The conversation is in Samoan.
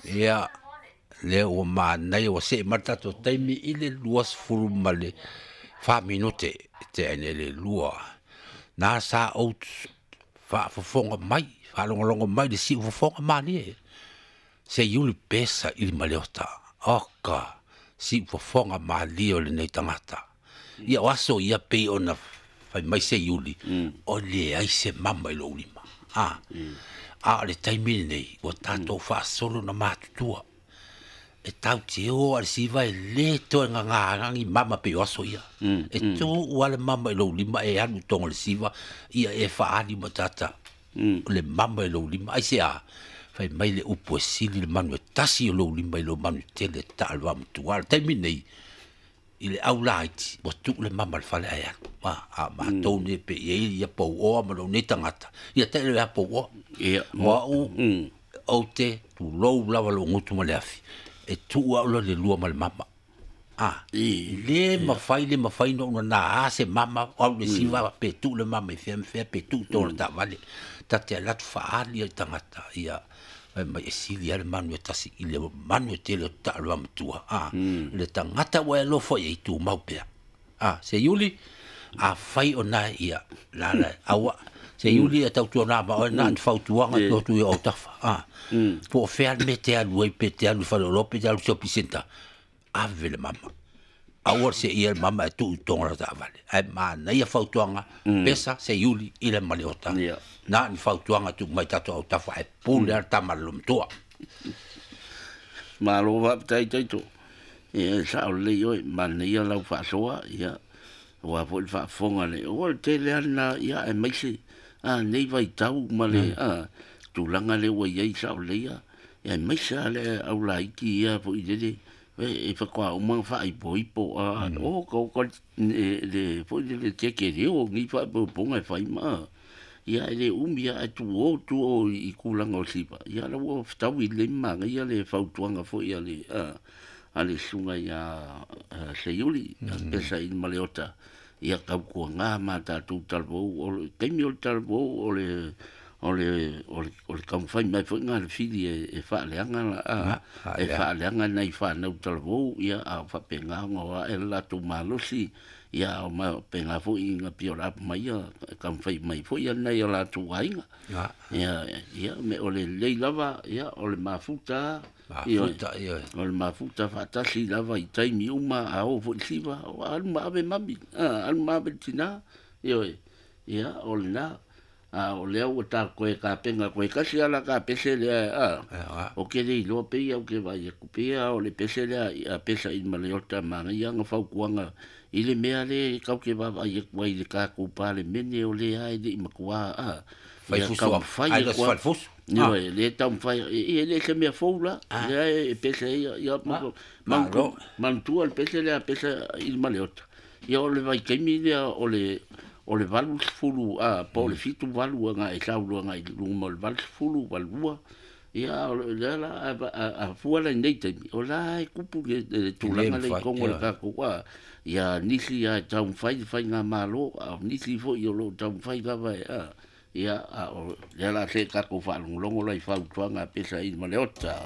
Ia, lea ua manaia ua see mai le tatou taimi i le 24 minute tea nei le 2. Na sa ou faafofoga mai, faalogologo mai i le siufofoga malie. Seiuli pesa i le maleota. Oka, siufofoga malie o lenei tagata. Ia o aso ia pei ona fai mai Seiuli, o leai se mama i lou lima. A, a o le taimi lenei, ua tatou faasolo na matutua. E tatou te o lava i le siva e le toe gagā ni mama pei o aso ia. E tuu lava le mama i lou lima e alu i totonu o le siva, ia e faaali ma tata le mama i lou lima. Aisea? Fai mai le upu e sili le manu e tasi o lou lima i lou manu tele e taa le vaomatua. A o le taimi lenei, i le au laiti, ua tuu le mama i le fale ae alu. A matou nei pe i ai ia pouoa ma lou nei tagata, ia tailo ia pouoa. O au, ou te tulou lava lou gutu ma le afi, e tuu au loa le lua ma le mama. A, le mafai, le mafai ona ou nana se mama, o au le siva pe tuu le mama i fea ma fea, pe tuu i totonu o le taavale. Ta te alu atu faaali ai le tagata, ia, fai mai e sili lava le manu e tasi i le manu e tele o taa o le vaomatua. A, le tagata ua e alofa i ai, tumau pea. A, Seiuli, afai o na ia, la la, aua, Seiuli e tautuana ma oe na ni fautuaga tuu atu i ou autafa. A, po o fea le mea e te alu ai, pe te alu i faleoloa, pe te alu i shopping centre, ave le mama. Aua le seia le mama e tuu i totonu o le taavale. Ae manaia fautuaga, pesa Seiuli i le maleota. Na ni fautuaga tuu mai tatou autafa ae pule lava le tama a le loomatua. Malo faafetai Taito. Ia e sao lelei oe, manaia lau faasoa, ia aua foi le faafofoga le o le tele lava lena, ia aemaise a nei vaitau ma le a tulaga lea ua i ai sao lelei lava, ia aemaise lava le au laiti ia foi lele e faatoa uma ona faaipoipo a oka oka le foi lele tetele o nei faaipoipoga e fai ma ia e le umi lava ae tuo tuo i tulaga o siva, ia la ua fetaui lelei ma manaia le fautuaga foi a le a le susuga ia Seiuli, pesa i Maleota, ia tautuana ma tatou talavou, o le taimi o le talavou, o le o le o le o le taumafai mai foi lena a le fili e faaleaga la e faaleaga nai fanau talavou, ia a o faapena ona o ae le latou malosi, ia a o faapena foi ona pei o le a mai ia taumafai mai foi nai o latou aiga. Ia ia me o le lelei lava, ia o le mafuta, Mafuta, ioe. O le mafuta faatasi lava i taimi uma, a oo foi i le siva, alu ma ave mami, alu ma ave le tina, ioe, ia o lena. A o lea ua ta toe tapena toe tasi lava la ta pese lea, a, ou te le iloa pei ou te vaai atu pei lava o le pese lea a pesa i Maleota manaia ana fautuaga i le mea lea e tatou te vaavaai atu ai i le tatou Palemene o lea e le i matua a Fai ia fusu taumafai ai atu le fusu. Ioe, le taumafai, e le se mea fou la, lea e pese ia, ia Malo. manatua le pese lea pesa i Maleota. Ia o le vaitaimi lea o le 80 a po o le 78 agai e sau agai i luga o le 80, 82, ia o lea la a fua la i nei taimi, o la e tupu le tulaga lea i totonu o le tatou a, ia nisi lava e taumafai le faigamalo, a o nisi foi o lo o taumafai lava e a, ia a o lea la se tatou faalogologo la i fautuaga a pesa i Maleota.